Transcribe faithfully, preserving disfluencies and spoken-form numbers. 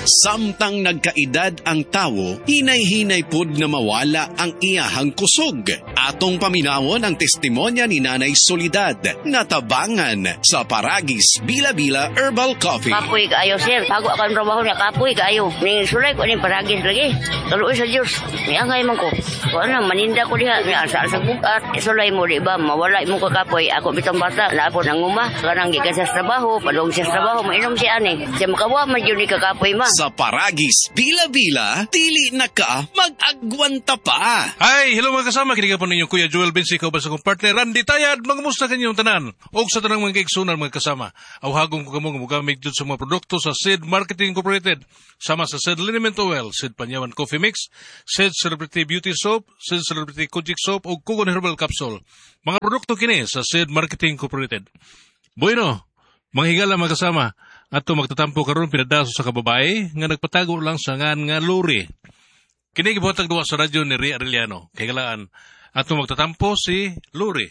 Samtang nagkaedad ang tawo, hinay-hinay pod na mawala ang iyahang kusog. Atong paminawon ang testimonya ni Nanay Soledad na tabangan sa Paragis Bila-Bila Herbal Coffee. Kapoy kaayo, sir. Bago ako ang trabaho niya, kapoy kaayo. Ning sulay ko ning Paragis lagi. Kaluoy sa Diyos. Miangay man ko. Kuan na, maninda ko diha. Mi asa sa bugat. Sulay mo, di ba? Mawala mo kakapoy. Ako bitong bata, na ako nanguma. Kanang gikan sa trabaho, padung siya sa trabaho, mainom siya ani. Siya makawa man yun ni kakapoy ma. Sa Paragis Bila-Bila, dili na ka mag-agwanta pa. Hi, hello mga kasama. Kini po ninyo Kuya Joel Vinci, kauban sa akong partner Randy Tayad. Mangumusta kanyong tanan? Og sa tanang mga kaigsunan mga kasama. Awhagong ko kamo nga mogamit jud sa mga produkto sa Sid Marketing Incorporated. Sama sa Sid Liniment Oil, Sid Panyawan Coffee Mix, Sid Celebrity Beauty Soap, Sid Celebrity Kojic Soap ug Kugon Herbal Capsule. Mga produkto kini sa Sid Marketing Incorporated. Bueno, mga higala mga kasama, ato magtatampo karon pinadaso sa kababae nga nagpatago lang sa ngan nga Lori. Kini gibuhatag duwa sa radyo ni Ria Arellano. Kay galaan ato magtatampo si Lori.